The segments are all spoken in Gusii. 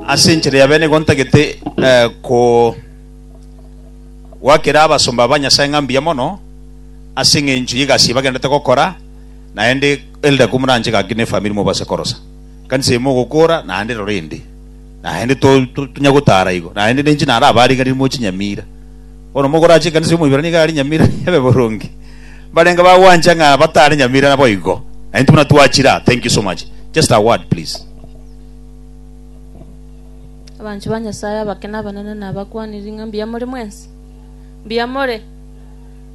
Ase enchera ya bene igo ntagete ko goakera abasomba ba Nyasae ng'a mbuya mono ase eng'encho y'egasi eye bagenderete gokora, naende elder komoranche gaki ne efamiri mobase korosa. Ekanisa eye mogokora naende rora ende, naende to to tonya gotara igo, naende ninche narabariganirie moche Nyamira. Bono mokorache ekanisa y'Omoiberania iga aria Nyamira ebe boronge. Mbarenge bagwancha ng'a batare Nyamira naboigo. Na intwe buna twachire aa, thank you so much. Just a word please. Abanchwa ba Nyasae abake na abanene nabakwanirie ng'a mbuya more mwensi? Mbuya more?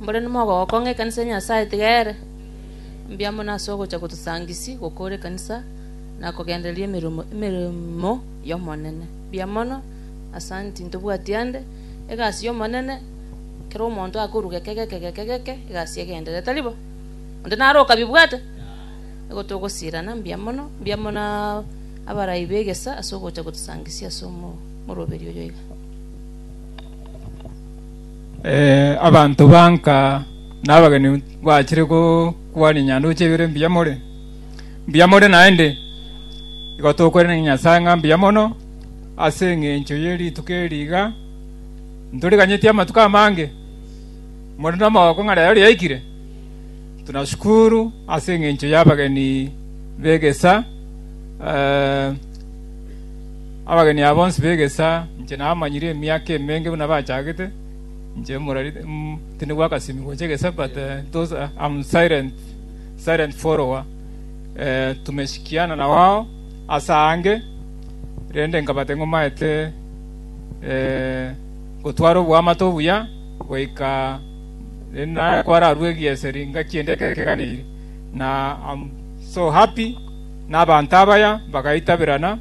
Mbore nomogoko ng'a ekanisa ya Nyasae tiga ere? Mbuya mono ase ogocha gotosangisia gokora ekanisa na kogendereria emeremo emeremo y'Omonene. Mbuya mono, asanti ntobwati ande, egasi y'Omonene, kera omonto akorwa geke geke geke geke, egasi egenderere, tari bo? Onde nare okabibwate? Nigo togosirana, mbuya mono, mbuya mono abarai b'egesa ase ogocha gotosangisia ase omoroberi oyo iga. Abanto ba nka na abageni bachire gokwania nyandoche ibere mbuya more? Mbuya more naende? Igo tokwerania Nyasae ng'a mbuya mono ase engencho ye rituko eri iga, ntoriganyetie amatuko amange, more nomogoko ng'a rero riaikire. Tunashukuru ase engencho y'abageni b'egesa, abageni aba bonsi b'egesa inche namanyire emiaka emenge buna bachagete, inche morari tindi gwakasimi gocha egesa but those I'm silent, silent follower tumeshikiana na wao ase aange, rende nkabatebia ng'a omaete gotwara oboamate obuya goika Rende naye kwararue egieseri ngaki ende ekeganeiri, na I'm so happy na abanto abaya bagaitaberana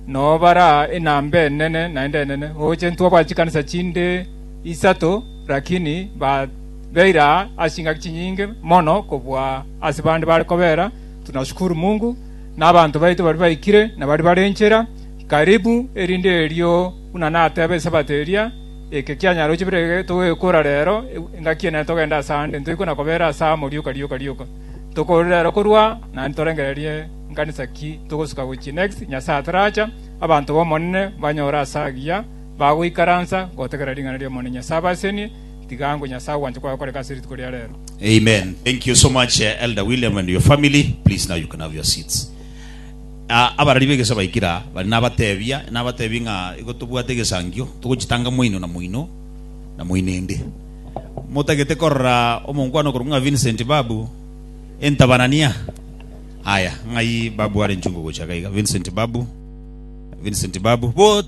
noo bara enamba enene naende enene gocha ntwabwate chikanisa chinde isato lakini ba beire aa ase chingaki chinyinge mono kobua ase bande bare kobera. Tunashukuru Mungu na abanto baito baria baikire na baria bare nchera karibu erinde erio buna nateba esabato eria Eke kianyaroche bire togekora rero, engaki enene togende ase aande, ntoikwe na kobera ase amo rioka rioka rioka. Tokore rero korwa, naende torengererie nkanisa ki togosuka gochia next, Nyasae ataracha, abanto b'Omonene banyore ase agiya, bagoikaransa gotegerera ring'ana ri'Omonene. Nyasae abasenie, tiga ango Nyasae ogwancha kwaye gokoreka ase rituko ria rero. Amen. Thank you so much, Elder William and your family. Please now you can have your seats. Abarari b'egesaa baikire aa, baria nabatebia, nabatebie ng'a igo tobwate egesangio, togochitanga moino na moino, na moino ende. Motagete korora omonkwana okorokwa ng'a Vincent Babu, entabanania? Aya, ng'ai Babu are nchungu gocha iga iga? Vincent Babu, Vincent Babu, bo.